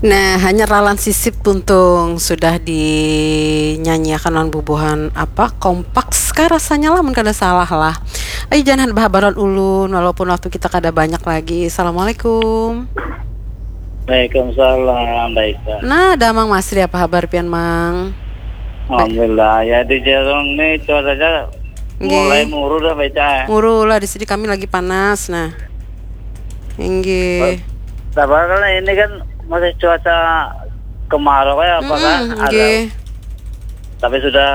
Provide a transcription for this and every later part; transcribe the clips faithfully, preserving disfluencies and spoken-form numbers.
Nah, hanya ralan sisip tuntung sudah dinyanyiakan lawan bubuhan apa, Kompak kah rasanya lah, mun kada salah lah. Ayo, jangan bahabaran ulun, walaupun waktu kita kada banyak lagi. Assalamualaikum. Waalaikumsalam, baik. Nah, ada Mang Masri, apa habar pian, Mang? Alhamdulillah, ya di Jerong nih cuacanya Nggih. Mulai muru dah, baca. Muru lah, di sini kami lagi panas, nah. Inggih. Sabar, karena ini kan masih cuaca kemarau ya, apa kan? Mm-mm, Ada. Nggih. Tapi sudah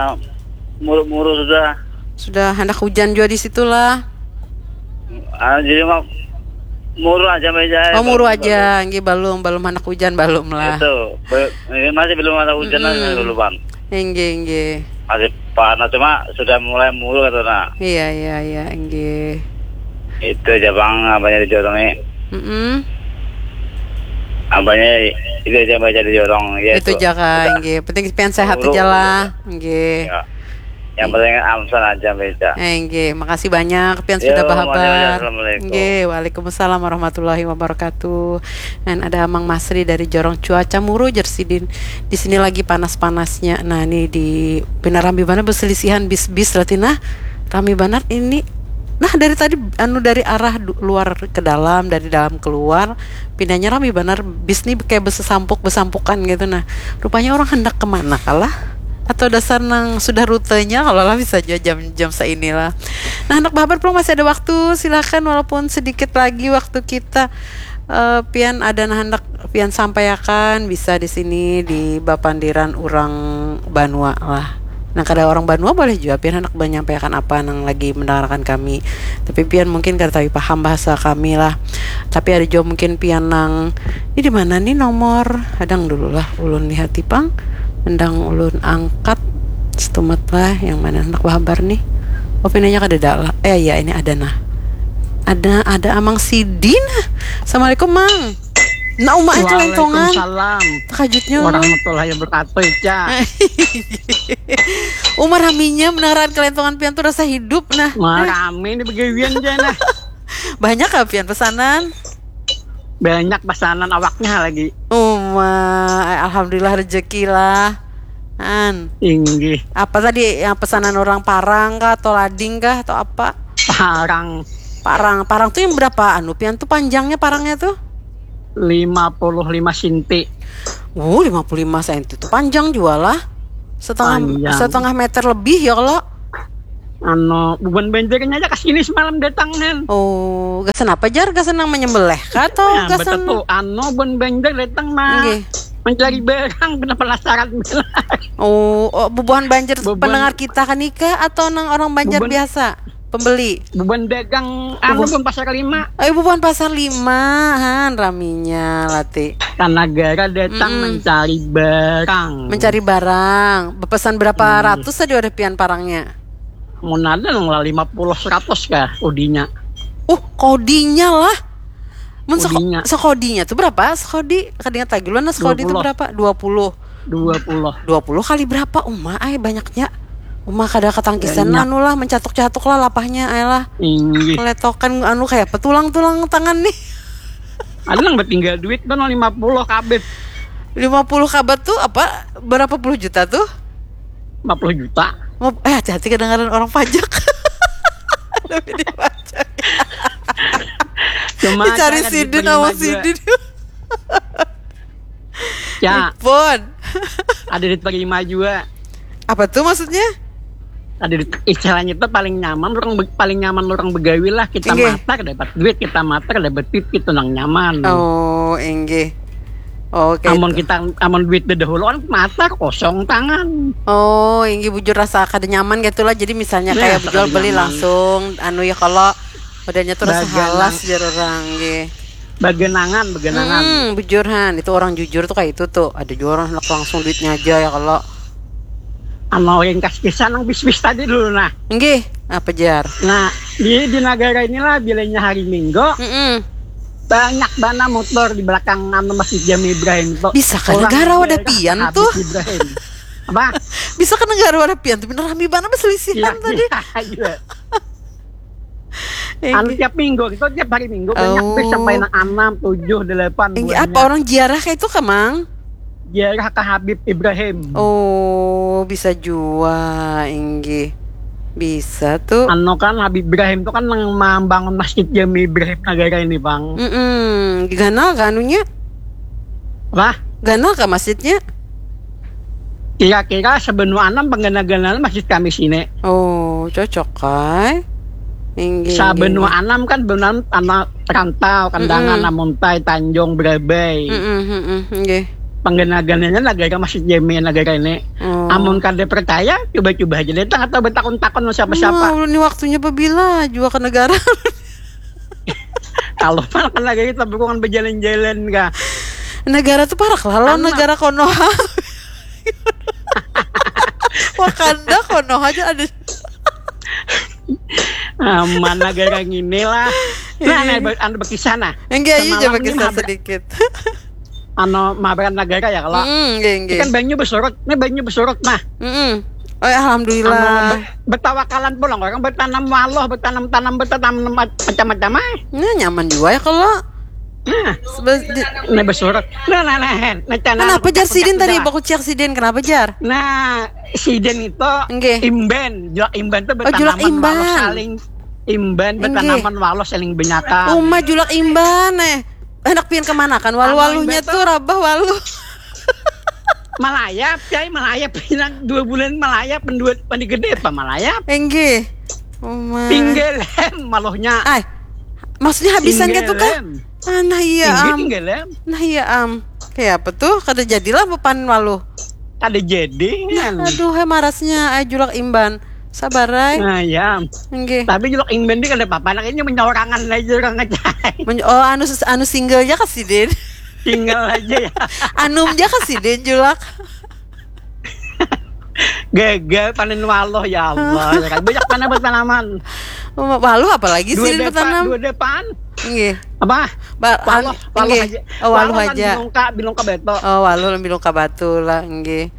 muru-muru sudah. Sudah hendak hujan juga di situlah. Ah, jadi mah muru aja, baca. Oh, muru aja, nggih, balum, balum hendak hujan, balum lah. Itu, be- ini masih belum ada hujan, Mm-mm. dulu, Bang. Inggih, inggih. Masih panas, cuma sudah mulai muru, kata nah. Iya, iya, iya, inggih. Itu aja, Bang, abahnya di Jorong nih. Mm-mm. Abahnya itu aja, baca di Jorong. Ya, Itu aja, Kak, inggih. Penting pian sehat Muru, aja lah, inggih. Ya. Yang penting amsan aja, baca. Eh, inggih, makasih banyak pian Yo, sudah makasih banyak. bahabar. Assalamualaikum. Inggih, waalaikumsalam warahmatullahi wabarakatuh. Dan ada Amang Masri dari Jorong, cuaca muru jer sidin. Di sini lagi panas-panasnya. Nah, ini di pina rami banar beselisihan bis-bis, Ratina. Rami banar ini. Nah, dari tadi anu dari arah du- luar ke dalam, dari dalam keluar, pinanya rami banar, bis nih kayak besesampuk-besampukan gitu. Nah, rupanya orang hendak kemana kalah? Atau dasar nang sudah rutenya, kalau lah bisa aja jam-jam seinilah. Nah, hendak bahabar pulang, masih ada waktu, silakan, walaupun sedikit lagi waktu kita. Eh, pian ada nah hendak pian sampaiakan, bisa di sini di bapandiran urang banua lah. Nah, kada urang banua boleh jua pian hendak menyampaikan apa nang lagi mendengarkan kami. Tapi pian mungkin kada tapi paham bahasa kami lah. Tapi ada jua mungkin pian nang, ini di mana nih nomor? Hadang dulu lah, ulun lihati pang. Mendang ulun angkat setumat lah, yang mana hendak bahabar nih. Oh, pinanya kadada lah. Eh, iya, ini ada nah. Ada, ada Amang Sidin. Assalamualaikum, Mang. Nah, Uma, eh, kelentongan. Waalaikumsalam Takajutnya ulun. Warahmatullahi wabarakatuh, Ica. Uma, raminya mendengarkan kelentongan pian tuh rasa hidup, nah. Wah, rame nih begawian aja nah. Banyak kah pian pesanan? Banyak pesanan awaknya lagi. Uma, eh, alhamdulillah rezeki lah. An, Inggih, apa tadi yang pesanan orang, parang kah atau lading kah atau apa? parang Parang, parang tuh yang berapa anu pian tuh panjangnya parangnya tuh? Lima puluh lima sinti. Wuh, lima puluh lima senti tuh panjang juga lah. Setengah Panjang. setengah meter lebih ya kalau. Anu, bubuhan banjarnya aja kesini semalam datang kan. Oh, gasan apa, jar? Gasan nang menyembelih kah atau Nah, gasan? Betul tuh, anu, bubuhan banjar datang mah Nggih. Mencari barang, benar penasaran. Oh, oh, bubuhan banjar Bubuhan- pendengar kita kan nikah atau nang orang banjar Bubuhan- biasa? Pembeli. Bubuhan dagang, anu, bubuhan pasar lima. Ayo, bubuhan pasar lima, han, raminya lati. Tanah Gara datang Mm-mm. mencari barang. Mencari barang. Bepesan berapa Hmm. ratus tadi udah pian parangnya? Mun ada nang lah lima puluh seratus kah udinya. Uh, kodinya lah. Mun seko- Kodinya. Sekodinya tuh berapa? Sekodi, kada ingat lagi lu, nah, sekodi itu Dua puluh. Berapa? Dua puluh. Dua puluh. Dua puluh kali berapa, Uma? Ay, banyaknya. Uma kada ketangkisan Banyak. Anu lah, mencatuk-catuk lah lapahnya, ay lah. Inggih. Keletokan anu kayak apa, tulang-tulang tangan nih. Ada nang bertinggal duit kan lima puluh kabit. Lima puluh kabat tuh apa? Berapa puluh juta tuh? Lima puluh juta. Mau, eh, hati-hati kedengaran orang pajak. Tapi dia pajak. Cuma Dicari ada sidin diterima sama juga. Sidin. Ya, Pun. Ada diterima juga. Apa tuh maksudnya? Ada di, istilahnya itu paling nyaman orang be- paling nyaman orang begawi lah, kita Inggih. Matar dapat duit, kita matar dapat duit, itu nang nyaman. Oh, inggih. Oke. Amun Itu. Kita amun duit dahulu kan matar kosong tangan. Oh, inggih, bujur rasa kada nyaman gitu lah. Jadi misalnya Nah, kayak kada jual beli nyaman. Langsung anu ya, kalau udahnya tuh rasa Baganang. Halas, jar orang, nggih. Baganangan, baganangan. Hmm, bujur, han. Itu orang jujur tuh kayak itu tuh. Ada juga orang hendak langsung duitnya aja ya kalau. Anu, ringkas kisah nang bis-bis tadi dulu nah. Nggih, apa, jar? Nah, di di negara inilah bilanya hari Minggu Mm-mm. banyak bana motor di belakang anu Masjid Jami Ibrahim tuh. Bisa kan Orang negara wadah daerah pian Habib tuh? Ibrahim. Apa? Bisa kan negara wadah pian tuh, bener rami banget selisihan Iya, tadi. iya, iya. Anu, tiap minggu, kita tiap hari minggu banyak bis sampai nang anam, tujuh, delapan. Inggih, apa buahnya. Orang ziarah kayak itu kah, Mang? Ziarah ke Habib Ibrahim. Oh, bisa jua, inggih. Bisa tuh. Anu kan, Habib Ibrahim tuh kan nang membangun Masjid Jami Ibrahim Nagara ini, Bang. Mm-mm. Ganal kah anunya? Lah? Ganal kah masjidnya? Kira-kira sabanua anam pangganal-ganal masjid kami sini. Oh, cocok, kai. Inggih, inggih, inggih. Sabanua anam kan banua anam tanah rantau, Kandangan, Mm-mm. Amuntai, Tanjung, Barabai. Mm-mm, mm-mm, inggih. Pangganal-ganalnya Nagara Masjid Jami Nagara ini. Oh. Amun kada percaya, coba-coba aja datang atau bertakun-takun sama siapa-siapa. Nah, ulun ni waktunya pabila jua ke negara. Kalau makan lagi kita bukan berjalan-jalan kah? Negara tuh parak lah, lawan Anak. Negara Konoha. Wakanda, Konoha aja ada. Aman negara ngini lah. Nah, Iya. Nah, ber- anu berkisah nah. Enggak, aja Semalam ini berkisah mabra- sedikit. Anu, mabran negara ya kalau. Mm, enggak, enggak. Ini kan banyu bersurut, ini banyu bersurut nah. Mm-mm. Oh, alhamdulillah. Anu, be- bertawakalan pulang orang bertanam waluh, bertanam-tanam, bertanam macam-macam ah. Nah, nyaman juga ya kalau. Nah, Sebe- di- ini bersurut. Nah, nah, nah, nah, nah, Kenapa jar sidin tadi baku ciak sidin? Kenapa jar? Nah, sidin itu Nggih. Imban, julak imban itu Oh, julak bertanaman imban. Waluh saling imban, Nggih. Bertanaman waluh saling benyakan. Uma julak imban eh. Anak pian kemana kan? Waluh-waluhnya tuh rabah waluh. Malayap, cai, malayap. Pinang dua bulan malayap, pendua, pandi gede apa malayap? Enggih. Oh, ma. Tinggalem maluhnya. Ay, maksudnya habisan gitu kah? Tinggalem. Ah, nah iya, Tinggi am. Tinggalem. Nah iya, am. Kayak apa tuh? Kada jadilah bepan waluh. Kada jadi, kan. Aduh, hai marasnya, ay julak imban. Sabar, ay. Nah, ya. Enggih. Tapi julak imban ni kada apa-apa, nak ini menyaurangan aja orang aja. Men- oh, anu, anu single aja kasih, Din. Single aja ya. Anum ja kasidin julak. Gagal panen waluh, ya Allah. Ya kan? Banyak mana bertanaman. Waluh apalagi sih bertanam? Dua depan. Nggih. Apa? Waluh, waluh aja. Oh, waluh aja. Bilungka, bilungka batu. Oh, waluh bilungka batu lah, nggih.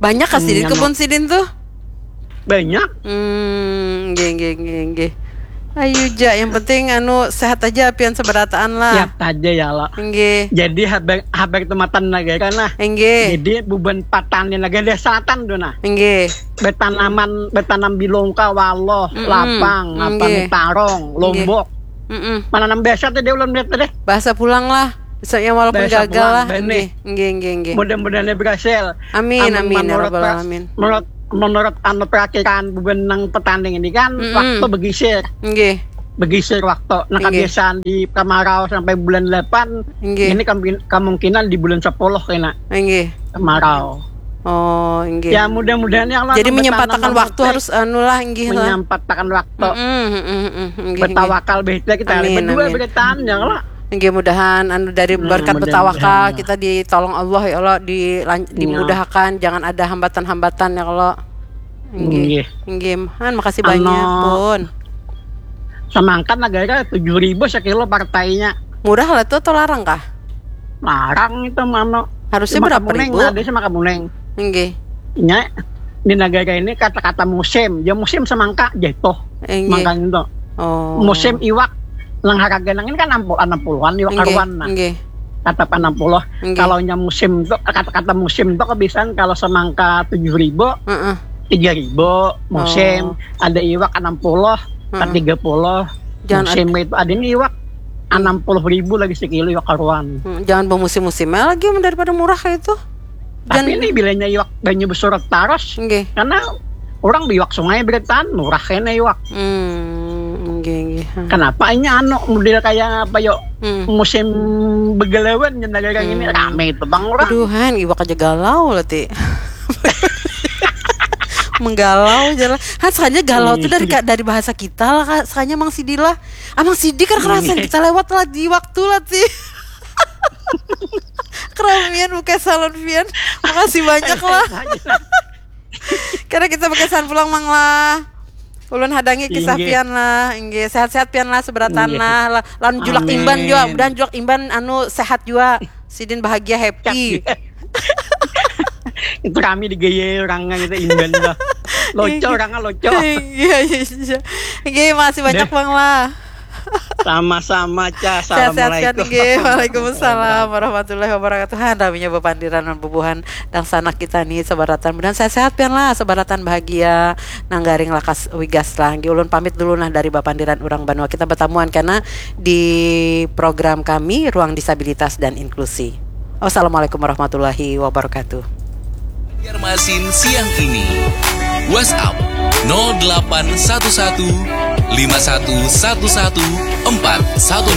Banyak kah sidin kebun sidin tuh? Banyak. Hmm, nggih, nggih, nggih, nggih. Ayu ja, yang penting anu sehat aja pian seberataan lah. Sehat aja ya Allah. Nggih. Jadi habar habar tumatan negara nah. Nggih. Jadi bubuhan patani negara selatan tu nah. Nggih. Bertanaman bertanam bilungka, waluh, lapang, apa nih, tarong, lombok. Mm-mm. Mananam bahasa tu dia ulun melihat tu deh. Bahasa pulang lah. Misalnya walaupun gagal lah. Nggih, nggih, nggih. Mudah-mudahan berhasil. Amin, amin, ya rabbal alamin. Menurut menurut anu perakiraan bubuhan nang petani ini kan waktu begisir. Nggih. Begisir waktu. Nah, kebiasaan di kemarau sampai bulan delapan, ini kemungkinan di bulan sepuluh kena kemarau. Oh, nggih. Ya, mudah-mudahan ya Allah. Jadi menyempatakan waktu harus anu lah, nggih lah. Menyempatakan waktu. Bertawakal beda kita berdua bertahan ya Allah. Nggih, mudahan anu dari berkat bertawakal kita ditolong Allah ya Allah, dimudahkan, jangan ada hambatan-hambatan ya Allah. Nggih. Nggih. Han, makasih banyak pun. Semangka negara tujuh ribu sekilo partainya. Murah lah tu atau larang kah? Larang itu mano. Harusnya berapa ribu? Ada sih makamuneng. Nggih. Nya di negara ini kata-kata musim, ya musim semangka jatuh. Nggih. Mangkanya itu. Oh. Musim iwak nang harga nang ini kan enam puluh, enam puluhan iwak karuan nah. Nggih. Tetap enam puluh. Nggih. Kalau nya musim tu, kata-kata musim tu kebiasaan kalau semangka tujuh ribu, tiga ribu musim, ada iwak enam puluh, tiga puluh. Jangan musim itu ada nih iwak enam puluh ribu lagi sekilo iwak karuan. Hmm, jangan bermusim-musim lagi daripada murah kayak itu. Tapi ini bilanya iwak banyu bersurut taros. Nggih. Karena orang biwak sungai bertahan murah kena iwak. Hmm, nggih, nggih. Kenapa ini anu model kayak apa yo? Hmm. Musim begelawan yang dagang ini rame itu bang orang. Aduhan, iwak aja galau lah ti. Menggalau aja lah. Han, sakanya galau tuh dari dari bahasa kita lah, Kak. Sakanya Mang Sidi lah. Amang Sidi kan kerasan kita lewat lah di waktu lah ti. Keramian buka salon pian. Makasih banyak lah. Karena kita berkesan pulang mang lah. Ulun hadangi kisah pian lah. Inggih, sehat-sehat pian lah, seberatan lah. Lawan julak imban juga, mudahan julak imban anu sehat juga. Sidin bahagia, happy. Itu kami digaya orang itu imban lah. Loco orang loco. Iya, iya, iya. Inggih, makasih banyak mang lah. Sama-sama, Ca. Sehat-sehat kan Assalamualaikum. Inggih. Waalaikumsalam warahmatullahi wabarakatuh. Han, raminya bapandiran wan bubuhan dangsanak kita nih, sabaratan. Mudahan sehat-sehat pian lah, sabaratan bahagia. Nang garing lakas wigas lah. Inggih, ulun pamit dulu nah dari bapandiran urang banua. Kita batamuan kena di program kami, Ruang Disabilitas dan Inklusi. Wassalamualaikum warahmatullahi wabarakatuh. Banjarmasin siang ini. WhatsApp nol delapan satu satu lima satu satu satu empat satu